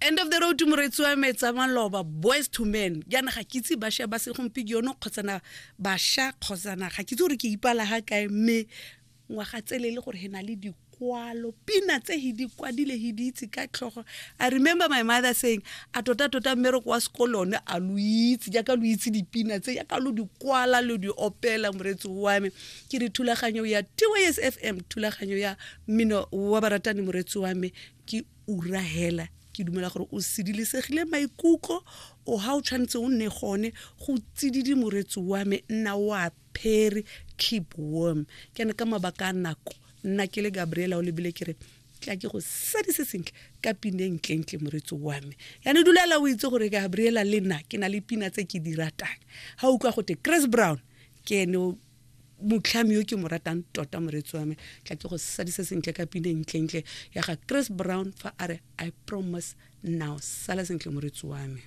End of the road, moretsi wa me, tsa maloba, Boys to Men. Jaana ga ke itse bašwa ba segompieno kgotsana bašwa kgotsana ga ke itse gore ke ipala ga kae, mme ngwaga tsele e le gore he na le dikwalo, pina tse he di kwadile, he di itse ka tlhogo. I remember my mother saying, a tota-tota mmereko wa sekolo one a lo itse jaaka lo itse dipina tse, jaaka lo di kwala, lo di opela. Moretsi wa me, ke re thulaganyo ya TYS FM, thulaganyo ya mmino wa baratani. Moretsi wa me, ke ura hela, ke dumela gore o sedilesegile maikutlo o ga o tshwanetse o nne gone go tsididi. Moretsi wa me, nna o apere, keep warm. Ke ne ka mabaka a nako, nna ke le Gabriela o lebile, ke re tla ke go sadise sentle ka pineng ntlentle. Moretsi wa me, yane dulela o itse gore Gabriela le nna ke na le pina tse ke di ratang. Ga utlwa gote Chris Brown ke ene motlhami yo ke mo ratang tota. Moretsi wa me, tla ke go sadisa sentle ka pineng ntlentle ya ga Chris Brown fa a re "I Promise Now". Sala sentle, moretsi wa me.